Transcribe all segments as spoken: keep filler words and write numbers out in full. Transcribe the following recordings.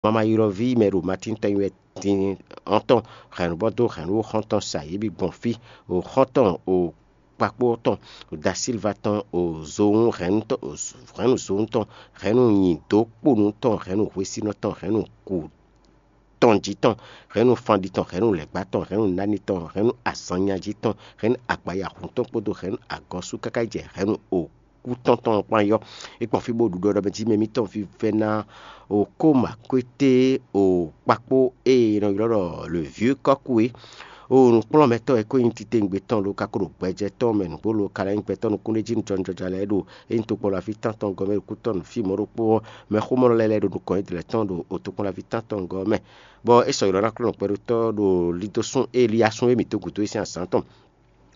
Mamayɔ́ví mɛ ɖo Matín tɔn nyi wɛ din ɔ́ tɔn, hɛ̌nnu bɔ dó hɛ̌nnu xɔ́ntɔn sa yě bǐ gbɔn fí, o xɔ́ntɔn o kpakpó tɔn, o da Silva tɔn, o zowun hɛ̌nnu tɔn, o hɛ̌nnu zowun tɔn, hɛ̌nnu nyǐdó kponu tɔn, hɛ̌nnu hwesínɔ tɔn, hɛ̌nnu kú tɔn jí tɔn, hɛ̌nnu fandi tɔn, hɛ̌nnu lɛ̌gbá tɔn, hɛ̌nnu nani tɔn, hɛ̌nnu azɔnnya jí tɔn, hɛ̌nnu agbayahun tɔn kpódó hɛ̌nnu agɔ́sú káká yi jɛ hɛ̌nnu o kú tɔn tɔn kpán yɔ. É kpɔn fí bó ɖu ɖɔ ɖɔ mɛ jí mɛ mítɔn fí vɛ́ ná o kóma kwété o kpakpó e è nɔ ylɔ́ ɖɔ le vieux kɔ́kú é. O nǔkplɔ́nmɛtɔ́ e kó nyí titewungbe tɔn lo ka ko ɖo gbɛjɛ tɔn mɛ nǔgbó lo ka lɛ́ nyí gbɛtɔ́ nukúnɖéjínú jɔnjɔja lɛ́ɛ ɖo é nyí tokpɔnlaví tántɔn gɔ́ mɛ ɖo kútɔ́ nǔ fí mɔ̌ ɖokpó ɔ́, mɛxómɔ́lɔ lɛ́ɛ lɛ́ɛ ɖo nukɔn yědɛɛ tɔn ɖo o tokpɔnlaví tántɔn gɔ́ mɛ. Bɔ é sɔ́ ylɔ́ ná klɔ́ nukpɛ́ɖótɔ́ ɖo lídósún Eliyasún e mǐ dó gǔdo é sín azǎn tɔn.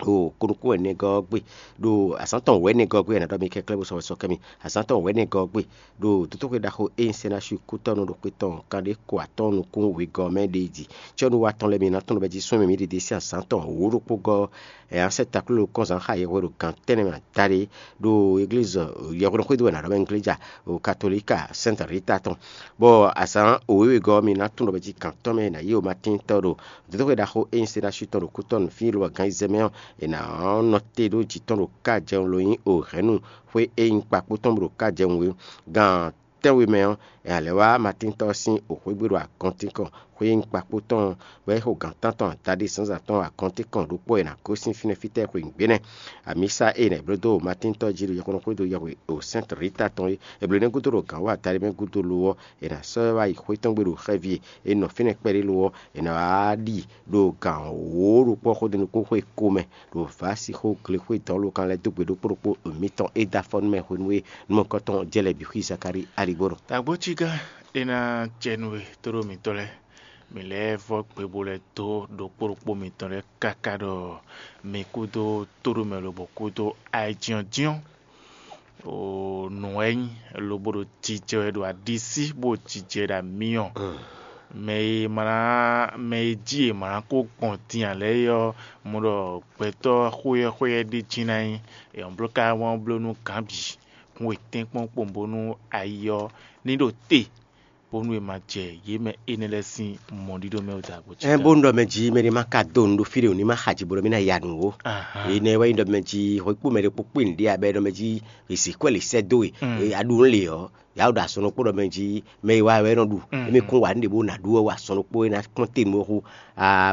O ko nukún wɛ nɛgɔ́ ɔ́ gbe ɖo azǎn tɔn wɛ̌nɛgɔ́ ɔ́ gbe, è nǎ ɖɔ mi kɛnklɛ́n bó sɔ́ wɛ sɔ́ kɛ mi. Azǎn tɔn wɛ̌nɛgɔ́ ɔ́ gbe ɖo dotóxwé ɖaxó e nyí Sɛnásu kútɔ́nú ɖo xwé tɔn kanɖé ko atɔ́ɔ́n nukún wegɔ́ ɔ́ mɛ ɖe jí. Cɔ́nuwa tɔn lɛ́ɛ mi ná tunwun bɔ jí sɔ́ mǐ ɖiɖe sín azǎn tɔn wǒ ɖokpó gɔ́ ɛ, ǎ sɛ́ takló kɔ́nzǎn xa yɛhwe ɖo gǎn tɛ́nnɛ mɛ adáɖé ɖo eglízi yɛhweɖɔxwédo wɛ è nǎ ɖɔ mɛ ngléja ɖo katolíka Sɛ́nta Rita tɔn. Bɔ azǎn wěwegɔ́ ɔ́ mi ná tunwun bɔ jí gǎn tɔn mɛ è nǎ yí o Matín tɔn ɖo dotóxwé ɖaxó e nyí Sɛnásu tɔn ɖo kútɔ́ nǔ fí lobɔ gǎn ayizɛ́n mɛ ɔ́, è nǎ nɔ te ɖó jǐ tɔn ɖo ká jɛun lo nyí o hɛ̌nnu xwé e nyí kpakpó tɔn bó ɖo ká jɛun wé. Gan tɛ́nwe mɛ ɔ́, è nǎ lɛ́ wá Matíntɔ́ ɔ́ sín wěxwé gbe ɖo agɔntínkɔn xwé e nyí kpakpó tɔn ɔ́, bɔ é xo gǎn tántɔn adaɖé zǎnzǎn tɔn agɔntínkɔn ɖokpó è nǎ gosín fínɛ́ fítɛ́ xweyǐgbe nɛ́. Amǐsa e è nǎ bló dó Matíntɔ́ jí ɖo yɔkpɔ́nɔ xwédo yɛhwe o Sɛ́nti Rita tɔn é, è blǒ énɛ́ gúdo ɖo gǎn wú adaɖé mɛ gúdo lo ɔ́, è nǎ sɔ́ ɛ wá yi xwé tɔn gbe ɖo xɛ́ví e è nɔ fínɛ́ kpɛɖé lo ɔ́, è nǎ wá ɖi ɖo gǎn wǒ ɖokpó xódenukúnxwé ko mɛ ɖo Vǎsixó glexwé dɔ̌n lo kan lɛ́ɛ dó gbe ɖokpó ɖokpó mitɔn e dó afɔ nú mɛ hwenu e nú mɔ̌hunkɔtɔn jɛ lɛ̌ bǐ xwí Zakalíi aligbó nɔ. Tagbo ciga e ná jɛ nú we tóɖó mitɔ́ lɛ́ɛ, mǐ lɛ́ vɔ́ gbe bó lɛ́ dó ɖokpó ɖokpó mitɔn lɛ́ɛ káká ɖɔ mi kúdó tóɖó mɛ lobɔ kúdó ayijínjɔ́n o nǔ wɛ nyí lobo ɖo jijɛ wɛ ɖo aɖisí bó jijɛ ɖo amyɔ. Mɛ e ma ná mɛ e jí e ma ná kó gbɔn din ǎ lɛ́ɛ é ɔ́, mɔ ɖɔ gbɛtɔ́ xóyɛ́xóyɛ́ ɖé jí ná nyí. È nɔ bló ká wán bló nú gǎn bǐ, kún e tɛ́nkpɔ́n kpowun bónú ayi ɔ́ ní ɖo te, bónú è ma jɛ yě mɛ énɛ́ lɛ́ɛ sín mɔɖíɖó mɛ wú dǎgbó cí. Ɛ bónú ɖɔ mɛ jí mɛ ɖé má ka dó nǔ ɖó fí ɖé wǒ ní má xa ji bo ɖɔ mí ná ya nǔ ó. Ènɛ́ wɛ nyí ɖɔ mɛ jí hwekpú mɛ ɖé kpó kpé nǔɖé abɛ ɖɔ mɛ jí èsǐkwɛ́ lě sɛ́ dó we, aɖu nǔ lě ɔ́, yǎ ɖo asɔnɔ kpó ɖɔ mɛ jí mɛ e wa wɛ é nɔ ɖu. Émí kún wa nǔ ɖě bó ná ɖu wɛ wa asɔnɔ kpó é ná kpɔ́n te nú xó,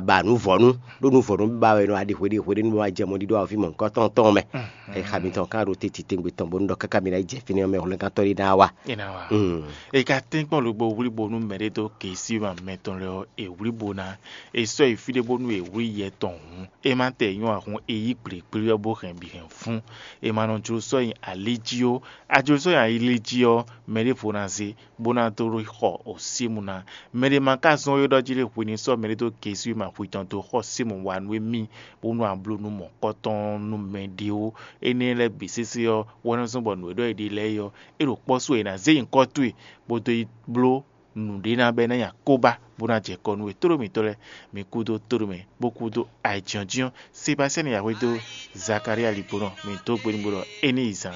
ba nǔ vɔ̌ nú ɖó nǔ vɔ̌ nú ba wɛ nɔ aɖi hweɖé hweɖé nú bó wá jɛ mɔɖíɖó afi mɔ̌hunkɔtɔn tɔn mɛ. Xami tɔn ká ɖo teti tɛngbɛ tɔn bónú ɖɔ káká mi ná yi jɛ fínɛ́ ɔ́ mɛ hwlɛ́ngántɔ́ ɖé ná wá. É ná wá. Mm. È ka tɛ́nkpɔ́n lobɔ wlí bónú mɛɖé dó gěsíma mɛtɔn lɛ́ɛ ɔ́, è wlí bo ná. È sɔ́ yi fí ɖé bónú è wlí yɛ tɔn hǔn, é má tɛ nyɔ́ ǎ hǔn è yí gblěgblé ɔ́ bó hɛn bǐ hɛn fún. È ma nɔ jló sɔ́ nyi alí jí ó. A jló sɔ́ nyi alí jí ɔ́, mɛ ɖěvo ná zé, bó ná dó xɔ osímu ná. Mɛɖé ma ka zɔ́n é ɖɔ jí lé hwi ní sɔ́ mɛɖé dó gěsíma hwi tɔn dó xɔ símu wa nú émí, bónú a bló nú mɔ̌kɔtɔn nú mɛɖé ó. Énɛ́ lɛ́ɛ bǐ sésé ɔ́, wɛ nɔ zɔ́n bɔ nǔ e ɖɔ è ɖe lɛ́ɛ é ɔ́, é ɖo kpɔ́ sú è nǎ zé nyǐkɔ towe bó dó yi bló nǔɖé ná bɛ́ ná nyi akóbá bó ná jɛ kɔ nú we. Tóɖó mǐtɔn lɛ́ɛ, mi kúdó tóɖó mɛ, bó kúdó ayǐjínjɔ́n. Sebastiyani yǎ hwedó Zakalía ligbónɔ, mǐ dó gbe nú bó ɖɔ é ní yi zaan.